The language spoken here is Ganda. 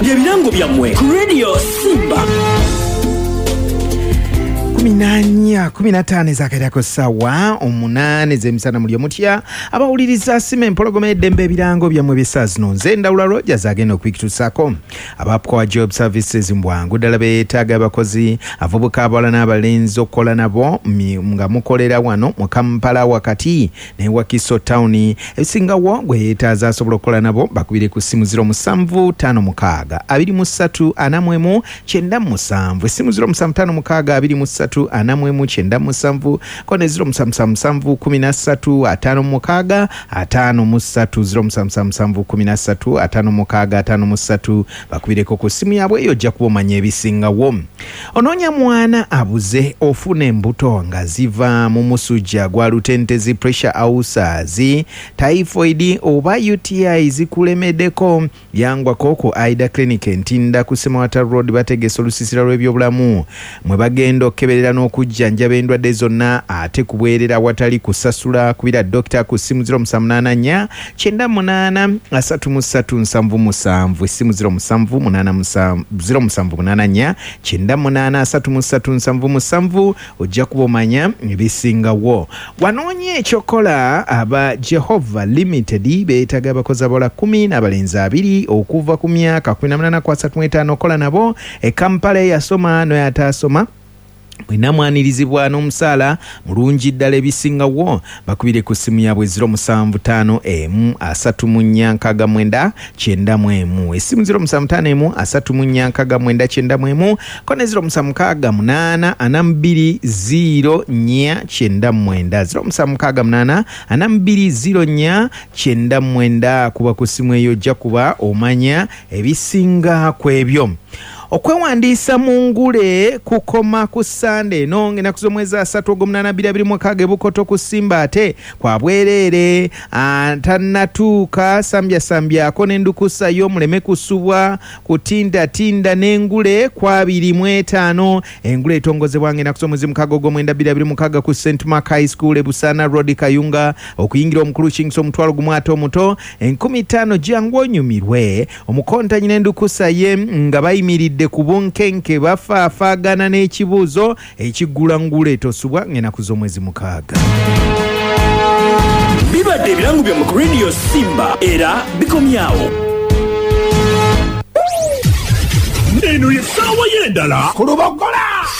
Bye birango byammwe ku Radio Simba. 14 15 ezakairako sawa 8 ez'emisana. Muli omutya abawuliriza Sima Empologoma eddembe, ebirango byammwe by'essaawa zino. Nze Ndawula Rogers agenda okubikutuusaako. Aba Power Job Services mbwangu ddala beetaaga abakozi, abavubuka, abawala n'abalenzi okukola nabo nga mukolera wano mu Kampala wakati ne Wakiso Town. Ebisingawo gwe yeetaaza asobola okukola nabo, bakubire ku ssimu 0756 23 41 97, essimu 0756 23 41 97, ko ne 0777 13 56 53, 0777 13 56 53. Bakubireko ku ssimu yaabwe eyo, ojja kuba omanya ebisingawo. Onoonya mwana abuze, ofuna embuto nga ziva mu musujja gwa lutentezi, pressure ulcers, typhoid oba UTI zikulemeddeko, yangwako ku Aida Clinic Entinda ku Semawata Road. Bategese olusisira lw'ebyobulamu mwe bagenda okukeberera n'okujjanjaba endwadde zonna ate ku bwerera awatali kusasula. Kubira dokita ku ssimu 0784 98 33 77, essimu 07 0784 98 33 77, ojja kuba omanya ebisingawo. Wanoonya ekyokola, aba Jehova Limited beetaaga abakozi abawala 10 n'abalenzi 20 okuva ku myaka 18 ku 35 okukola nabo e Kampala. Eyasoma n'oyo ataasoma mwena mwanirizibwa n'omusaala mulungi ddala. Ebisingawo bakubire ku ssimu yaabwe 0751 34 69 91, essimu 0751 34 69 91, ko ne 0768 42 04 99, 0768 42 04 99. Kuba ku ssimu eyo, ojja kuba omanya ebisinga ku ebyo. Okwewandiisa mu ngule kukoma ku Sande eno ng'enaku z'omwezi 30 ogw'omunaana 2026 e Bukoto ku Simba, ate kwa bwereere. Tannatuuka sambyasambyako n'endukusa yo muleme kusubwa kutindatinda n'engule ku 25. Engule etongozebwa ng'enaku z'omwezi 6 ogw'omwenda 2026 ku St Mark High School e Busaana Road, Kayunga. Okuyingira omukulu kingisa 10,000, ate omuto 5,000. Jangu onyumirwe omukontanyi n'endukusa ye nga bayimiridde ku bunkenke, bafaafaagana n'ekibuuzo ekiggula ngule. Tosubwa ng'enaku z'omwezi 6. Bibadde ebirango byammwe ku Radio Simba era bikomyawo. Eno ye ssaawa y'endala ku Lubogola.